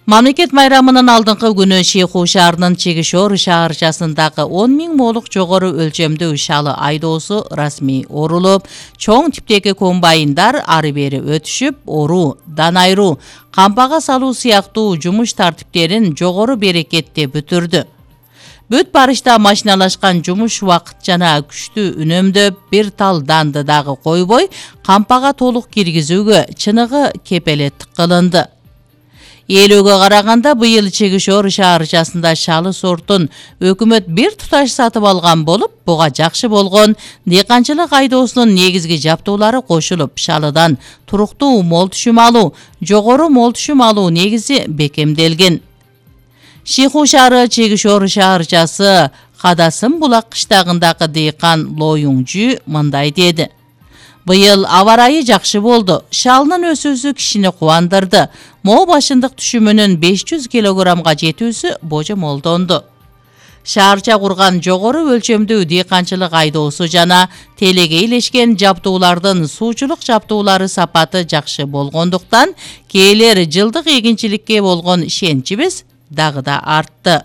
Мамлекет майрамынын алдыңкы күнү Шейху шаарынын Чегишор шаарчасындагы 10 000 молук жогору өлчөмдүү шалы айдоосу расмий орулуп, чоң типтеги комбайндар ары бери өтүшүп, оруу, дан айыруу, кампага салуу сыяктуу жумуш тартиптерин жогору берекетте бүтүрдү. Бүт барышта машиналашкан жумуш убакыт жана күчтүү үнөмдөп, бир тал данды дагы койбой, кампага толук киргизүүгө чыныгы кепелеттик кылынды. Eelөөгө караганда быйыл Чегишор шаарчасында шалы сортун өкмөт бир туташ сатып алган болуп, буга жакшы болгон дыйканчылык айдоосунун негизги жаптуулары кошулуп, шалыдан туруктуу мол түшүм алуу, жогору мол түшүм алуу негизи бекемделген. Шейху шаары Чегишор шаарчасы Кадасым булак кыштагындагы дыйкан Лоюңжү мындай деди. Быйыл аба ырайы жакшы болду. Шалынын өсүүсү кишини кубандырды. Моо башындык түшүмүнүн 500 килограммга жетүүсү божомолдонду. Шаарча курган жогору өлчөмдүү дыйканчылык айдоосу жана телеге илешкен жаптуулардын суучулук жаптуулары сапаты жакшы болгондуктан, кээлер жылдык эгинчиликке болгон ишеничибиз дагы да артты.